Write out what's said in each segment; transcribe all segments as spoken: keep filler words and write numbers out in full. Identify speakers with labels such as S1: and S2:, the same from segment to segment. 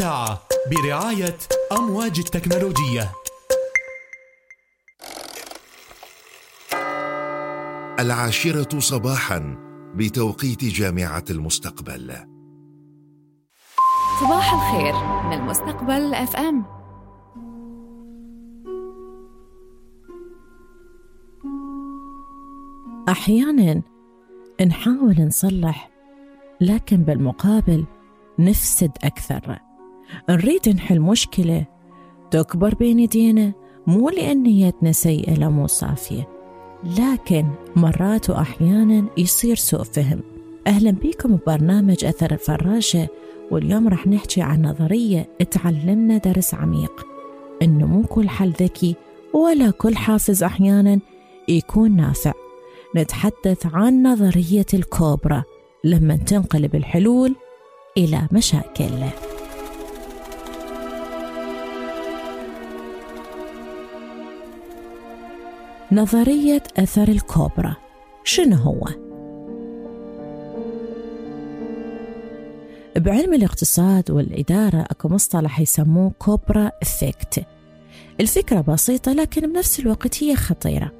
S1: ساعة برعاية أمواج التكنولوجية.
S2: العاشرة صباحا بتوقيت جامعة المستقبل.
S3: صباح الخير من المستقبل اف ام.
S4: أحياناً نحاول نصلح، لكن بالمقابل نفسد أكثر. نريد نحل مشكلة تكبر بين يدينا، مو لأن نيتنا سيئة لا مو صافية، لكن مرات وأحياناً يصير سوء فهم. أهلاً بكم ببرنامج أثر الفراشة، واليوم رح نحكي عن نظرية تعلمنا درس عميق، إنه مو كل حل ذكي ولا كل حافز أحياناً يكون نافع. نتحدث عن نظرية الكوبرا لما تنقلب الحلول إلى مشاكل. نظرية أثر الكوبرا شنو هو؟ بعلم الاقتصاد والإدارة أكو مصطلح يسموه كوبرا إفكت. الفكرة بسيطة لكن بنفس الوقت هي خطيرة.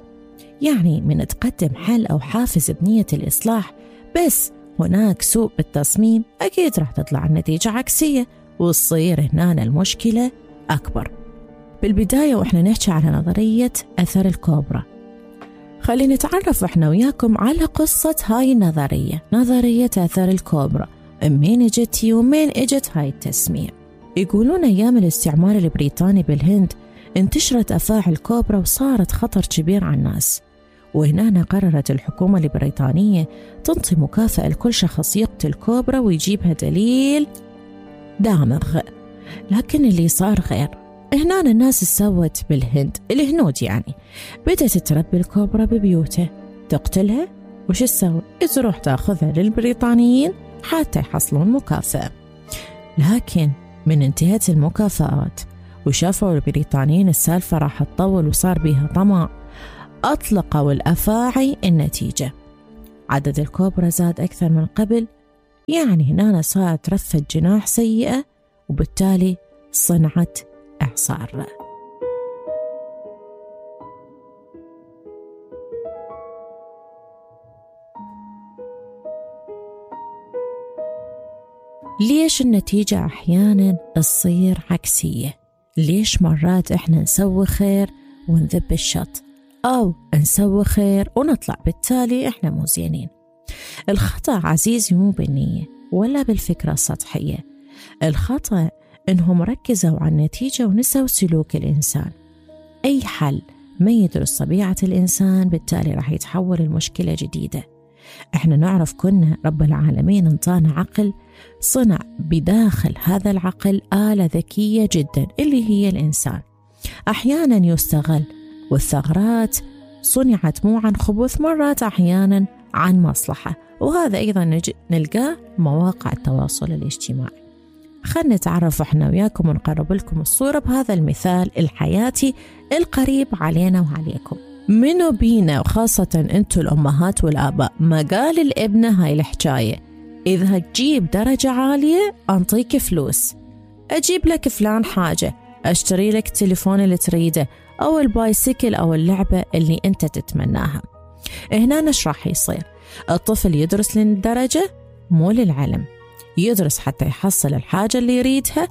S4: يعني من تقدم حل أو حافز بنية الإصلاح، بس هناك سوء بالتصميم، أكيد راح تطلع النتيجة عكسية وتصير هنا المشكلة أكبر. بالبداية وإحنا نحكي على نظرية أثر الكوبرا، خلينا نتعرف إحنا وياكم على قصة هاي النظرية، نظرية أثر الكوبرا، منين اجت ومين اجت هاي التسمية. يقولون أيام الاستعمار البريطاني بالهند انتشرت أفاعي الكوبرا وصارت خطر كبير على الناس، وهنا قررت الحكومة البريطانية تنطي مكافأة لكل شخص يقتل كوبرا ويجيبها دليل دامغ. لكن اللي صار غير. هنا الناس سوت بالهند، الهنود يعني، بدأت تربي الكوبرا ببيوته، تقتلها وش تسوي؟ تروح تاخذها للبريطانيين حتى يحصلون مكافأة. لكن من انتهت المكافآت وشافوا البريطانيين السالفة راح تطول وصار بيها طمع، أطلقوا الأفاعي. النتيجة عدد الكوبرا زاد أكثر من قبل، يعني هنا صارت رفة جناح سيئة، وبالتالي صنعت إعصار. ليش النتيجة أحياناً تصير عكسية؟ ليش مرات إحنا نسوي خير ونذب الشط، أو نسوي خير ونطلع بالتالي إحنا مو زينين؟ الخطأ عزيزي مو بالنية ولا بالفكرة السطحية، الخطأ إنهم ركزوا على النتيجة ونسوا سلوك الإنسان. أي حل ما يدرس طبيعة الإنسان، بالتالي راح يتحول المشكلة جديدة. إحنا نعرف كنا رب العالمين انطانا عقل، صنع بداخل هذا العقل آلة ذكية جدا اللي هي الإنسان، أحيانا يستغل، والثغرات صنعت مو عن خبث، مرات أحيانا عن مصلحة، وهذا أيضا نلقاه مواقع التواصل الاجتماعي. خلنا نتعرف احنا وياكم ونقرب لكم الصورة بهذا المثال الحياتي القريب علينا وعليكم. منو بينا وخاصة انتو الأمهات والآباء ما قال الابنة هاي الحكاية، إذا تجيب درجة عالية أنطيك فلوس، أجيب لك فلان حاجة، أشتري لك التليفون اللي تريده أو البايسيكل أو اللعبة اللي أنت تتمناها. هنا نش راح يصير؟ الطفل يدرس للدرجة مو للعلم، يدرس حتى يحصل الحاجة اللي يريدها،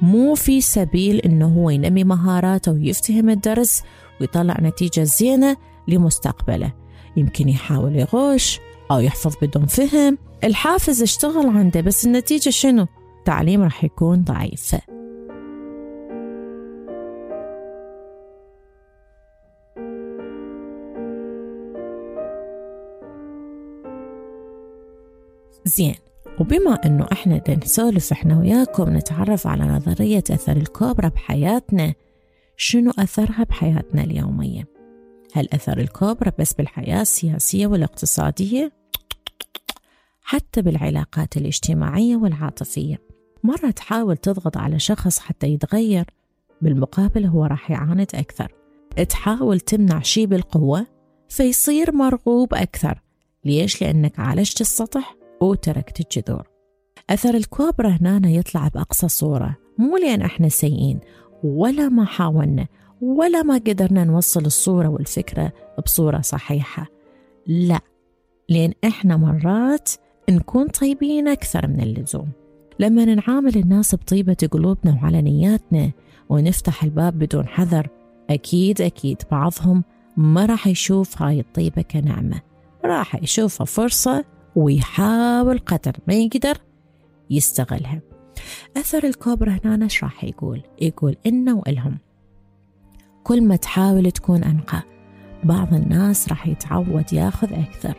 S4: مو في سبيل إنه هو ينمي مهاراته ويفتهم الدرس ويطلع نتيجة زينة لمستقبله. يمكن يحاول يغش أو يحفظ بدون فهم، الحافز اشتغل عنده، بس النتيجة شنو؟ تعليم راح يكون ضعيف. زين، وبما أنه إحنا نسولف إحنا وياكم نتعرف على نظرية أثر الكوبرا بحياتنا، شنو أثرها بحياتنا اليومية؟ هل أثر الكوبرا بس بالحياة السياسية والاقتصادية؟ حتى بالعلاقات الاجتماعية والعاطفية. مرة تحاول تضغط على شخص حتى يتغير، بالمقابل هو راح يعاند أكثر. تحاول تمنع شيء بالقوة فيصير مرغوب أكثر. ليش؟ لأنك عالجت السطح وتركت الجذور. أثر الكوبرا هنا يطلع بأقصى صورة، مو لأن إحنا سيئين ولا ما حاولنا ولا ما قدرنا نوصل الصورة والفكرة بصورة صحيحة، لا، لأن إحنا مرات نكون طيبين أكثر من اللزوم. لما نعامل الناس بطيبة قلوبنا وعلى نياتنا ونفتح الباب بدون حذر، أكيد أكيد بعضهم ما راح يشوف هاي الطيبة كنعمة، راح يشوفها فرصة ويحاول قدر ما يقدر يستغلها. أثر الكوبرا هنا نش راح يقول يقول إنه وإلهم كل ما تحاول تكون أنقى، بعض الناس راح يتعود ياخذ أكثر،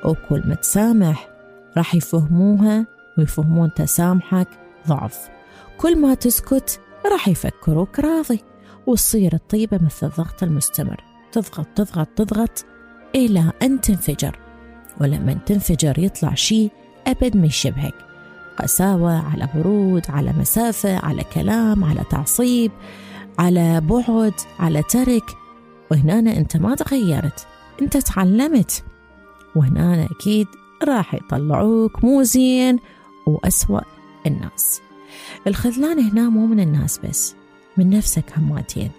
S4: وكل ما تسامح راح يفهموها ويفهمون تسامحك ضعف، كل ما تسكت راح يفكروك راضي، وتصير الطيبة مثل الضغط المستمر، تضغط تضغط تضغط إلى أن تنفجر، ولما تنفجر يطلع شيء أبد ما يشبهك، قساوة على برود على مسافة على كلام على تعصيب على بعد على ترك. وهنا أنت ما تغيرت، أنت تعلمت، وهنا أكيد راح يطلعوك مو زين وأسوأ الناس. الخذلان هنا مو من الناس بس، من نفسك هماتين.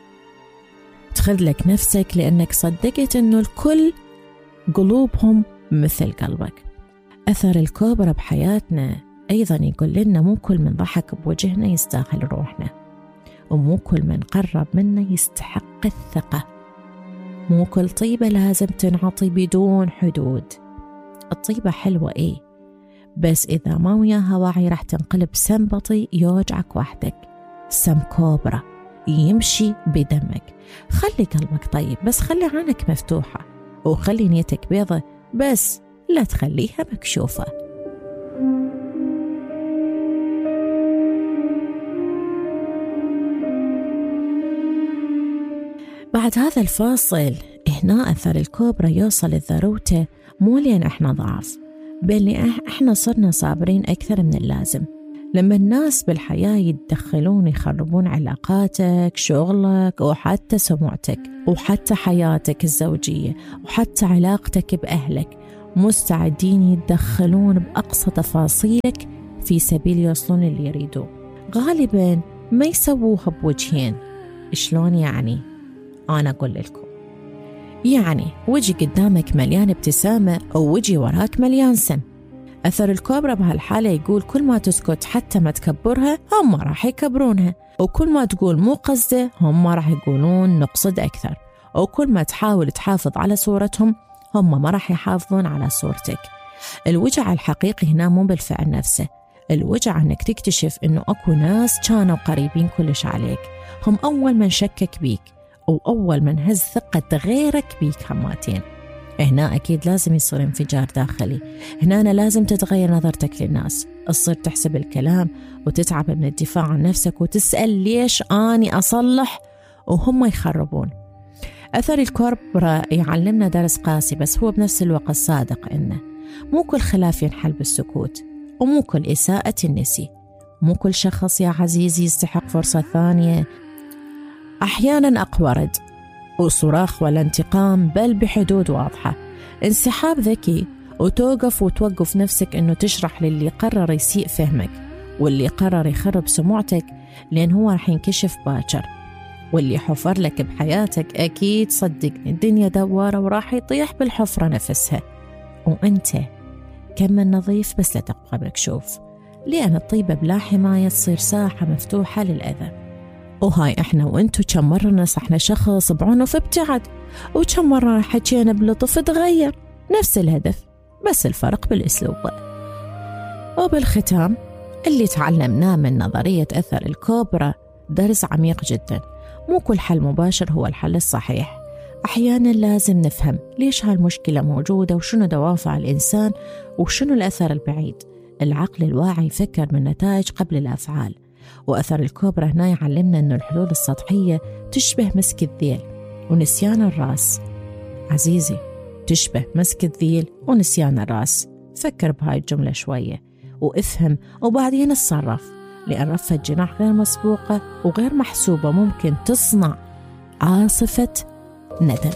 S4: تخذلك نفسك لأنك صدقت أنه الكل قلوبهم مثل قلبك. أثر الكوبرا بحياتنا أيضا يقول لنا مو كل من ضحك بوجهنا يستاهل روحنا، ومو كل من قرب منا يستحق الثقة، مو كل طيبة لازم تنعطي بدون حدود. الطيبة حلوة إيه، بس إذا ما وياها واعي راح تنقلب سم بطيء يوجعك وحدك، سم كوبرا يمشي بدمك. خلي قلبك طيب بس خلي عينك مفتوحة، وخلي نيتك بيضة بس لا تخليها مكشوفة. بعد هذا الفاصل هنا أثر الكوبرا يوصل لذروته مو لأن إحنا ضعف، بل لأن إحنا صرنا صابرين أكثر من اللازم. لما الناس بالحياة يتدخلون يخربون علاقاتك، شغلك، وحتى سمعتك، وحتى حياتك الزوجية، وحتى علاقتك بأهلك، مستعدين يتدخلون بأقصى تفاصيلك في سبيل يوصلون اللي يريدوه. غالبا ما يسووها بوجهين. شلون يعني؟ أنا أقول لكم، يعني وجه قدامك مليان ابتسامة أو وجه وراك مليان سم. أثر الكوبرا بهالحالة يقول كل ما تسكت حتى ما تكبرها هم راح يكبرونها، وكل ما تقول مو قصده هم راح يقولون نقصد أكثر، وكل ما تحاول تحافظ على صورتهم هم ما راح يحافظون على صورتك. الوجع الحقيقي هنا مو بالفعل نفسه، الوجع أنك تكتشف أنه أكو ناس كانوا قريبين كلش عليك، هم أول من شكك بيك وأول من هز ثقة غيرك بيك هماتين. هنا أكيد لازم يصير انفجار داخلي، هنا أنا لازم تتغير نظرتك للناس، تصير تحسب الكلام وتتعب من الدفاع عن نفسك وتسأل ليش أني أصلح وهم يخربون. أثر الكوبرا يعلمنا درس قاسي بس هو بنفس الوقت صادق، إنه مو كل خلاف ينحل بالسكوت، ومو كل إساءة النسي، مو كل شخص يا عزيزي يستحق فرصة ثانية. أحيانا أقورد وصراخ ولا انتقام، بل بحدود واضحة، انسحاب ذكي، وتوقف وتوقف نفسك أنه تشرح للي قرر يسيء فهمك واللي قرر يخرب سمعتك، لأن هو رح ينكشف باكر، واللي حفر لك بحياتك أكيد صدقني الدنيا دوارة وراح يطيح بالحفرة نفسها، وأنت كم من نظيف بس لا تبقى مكشوف، لأن الطيبة بلا حماية تصير ساحة مفتوحة للأذى. وهاي إحنا وإنتو كم مرة نصحنا شخص بعنف ابتعد، وكم مرة حكينا بلطف تغير، نفس الهدف بس الفرق بالأسلوب. وبالختام اللي تعلمناه من نظرية أثر الكوبرا درس عميق جدا، مو كل حل مباشر هو الحل الصحيح، أحيانا لازم نفهم ليش هالمشكلة موجودة وشنو دوافع الإنسان وشنو الأثر البعيد. العقل الواعي يفكر من نتائج قبل الأفعال، وأثر الكوبرا هنا يعلمنا أن الحلول السطحية تشبه مسك الذيل ونسيان الرأس. عزيزي، تشبه مسك الذيل ونسيان الرأس. فكر بهاي الجملة شوية وافهم وبعدين اتصرف، لأن رفة جناح غير مسبوقة وغير محسوبة ممكن تصنع عاصفة ندم.